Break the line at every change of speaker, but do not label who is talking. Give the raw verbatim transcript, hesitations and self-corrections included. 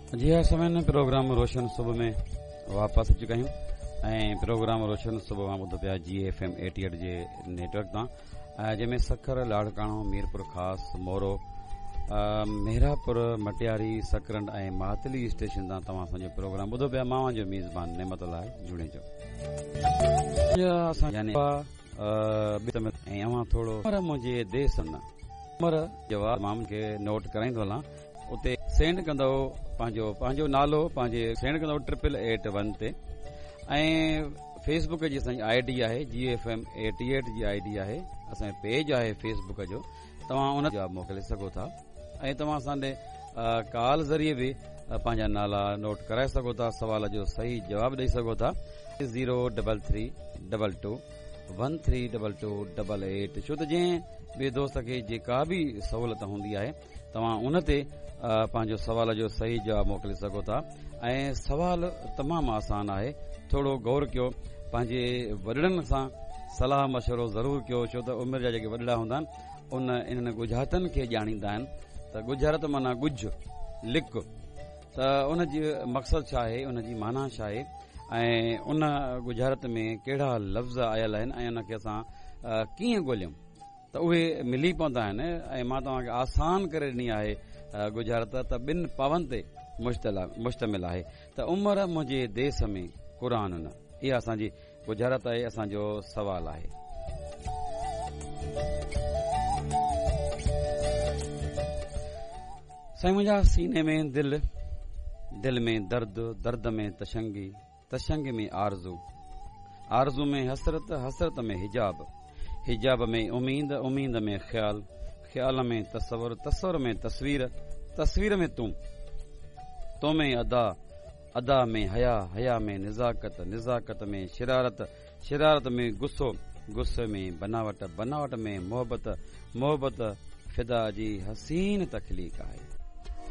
जी हाँ समय प्रोग्राम रोशन सुबह में वापस अची चुका आहियूं ऐं प्रोग्राम रोशन सुबह मां ॿुधो पिया जी F M at eight J network तां, जंहिंमें सखर, लाड़काणो, मीरपुर ख़ास, मोरो, मेहरापुर, मटियारी, सकरंड ऐं मातली स्टेशन तां तव्हां असांजो प्रोग्राम ॿुधो पिया। मां जो मेज़बान नेमतुल्लाह जुणेजो यानी ऐं अव्हां थोरो मुंहिंजे देस न उमर जवाब मां मूंखे नोट कराईंदो हलां, उते सेंड कंदव पंहिंजो पंहिंजो नालो पंहिंजे सेंड कंदव ट्रिपल एट वन ते। ऐं फेसबुक जी असांजी I D आहे G F M at at G I D आहे, असांजो पेज आहे फेसबुक जो, तव्हां उन जवाब मोकिले सघो था। ऐं तव्हां असां ॾे कॉल ज़रिए बि पंहिंजा नाला नोट कराए सघो था, सवाल जो सही जवाब ॾेई सघो था। Zero double three double two one three double two double eight. छो त जंहिं बि दोस्त खे जेका बि सहूलियत हूंदी आहे तव्हां उन ते पंहिंजो सवाल जो सही जवाब मोकिले सघो था। ऐं सवाल तमामु आसान आहे, थोरो गौर कयो, पंहिंजे वॾड़नि सां सलाह मशवरो ज़रूरु कयो, छो त उमिरि जा जेके वॾड़ा हूंदा आहिनि उन इन्हनि ॻुझारतनि खे ॼाणींदा आहिनि। त ॻुझारत माना ॻुझ लिक, त उन जी मक़सदु छा आहे, उन जी माना छा आहे ऐं उन ॻुझारत में कहिड़ा लफ़्ज़ आयल आहिनि ऐं उनखे असां कीअं ॻोल्हियूं, त उहे मिली पवंदा आहिनि। ऐं मां तव्हांखे आसान करे ॾिनी आहे ॻुझारत, त ॿिनि पावनि ते मुश्तमिल आहे। त उमिरि मुंहिंजे देस में क़ुर न, इहा असांजी ॻुझारत आहे, असांजो सवाल आहे। साईं मुंहिंजा सीने में दिल, दिल में दर्द, दर्द में तशंगी, तशंग में आरज़ू, आरज़ू में हसरत, हसरत में हिजाब, हिजाब में उम्मीद, उम्मीद में ख्याल, ख्याल में तसवर, तसवर में तस्वीर, तस्वीर में तूं, तो में अदा, अदा में हया, हया में निज़ाकत, निज़ाकत में शरारत, शरारत में गुस्सो, गुस्से में बनावट, बनावट में मोहब्बत, मोहब्बत फिदा जी हसीन तख़लीक आहे।